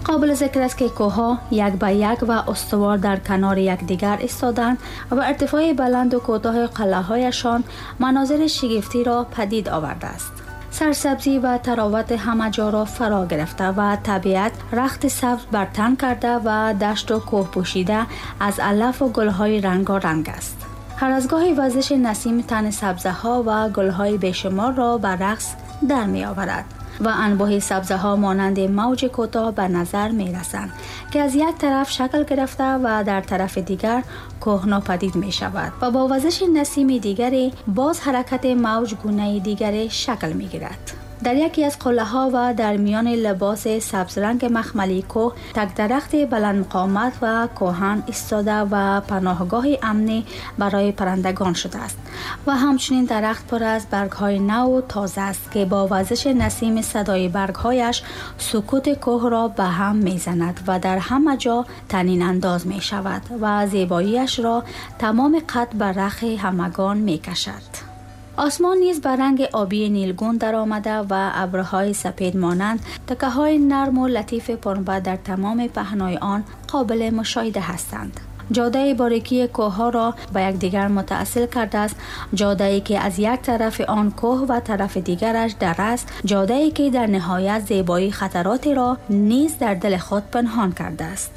قابل ذکر است که کوه‌ها یک به یک و استوار در کنار یکدیگر ایستادند و ارتفاع بلند و کوتاه قلعه‌هایشان مناظر شگفتی را پدید آورده است. سرسبزی و تراوت همه جا را فرا گرفته و طبیعت رخت سبز بر تن کرده و دشت و کوه پوشیده از علف و گل‌های رنگارنگ است. هر از گاهی وزش نسیم تن سبزه‌ها و گل‌های بیشمار را به رقص در می آورد و انبوه سبزه‌ها مانند موج کوتاه به نظر می رسند که از یک طرف شکل گرفته و در طرف دیگر کوه ناپدید می شود و با وزش نسیم دیگری باز حرکت موج گونه دیگری شکل می گیرد. در یکی از قله‌ها و در میان لباس سبز رنگ مخملی کوه تک درخت بلند قامت و کهن ایستاده و پناهگاه امنی برای پرندگان شده است و همچنین درخت پر از برگ‌های نو و تازه است که با وزش نسیم صدای برگ‌هایش سکوت کوه را به هم می‌زند و در همه جا طنین انداز می‌شود و زیباییش را تمام قد به رخ همگان می‌کشد. آسمان نیز به رنگ آبی نیلگون در آمده و ابرهای سپید مانند تکه های نرم و لطیف پنبه در تمام پهنای آن قابل مشاهده هستند. جاده باریکی کوه را به یکدیگر متاصل کرده است، جاده‌ای که از یک طرف آن کوه و طرف دیگرش در است، جاده‌ای که در نهایت زیبایی خطراتی را نیز در دل خود پنهان کرده است.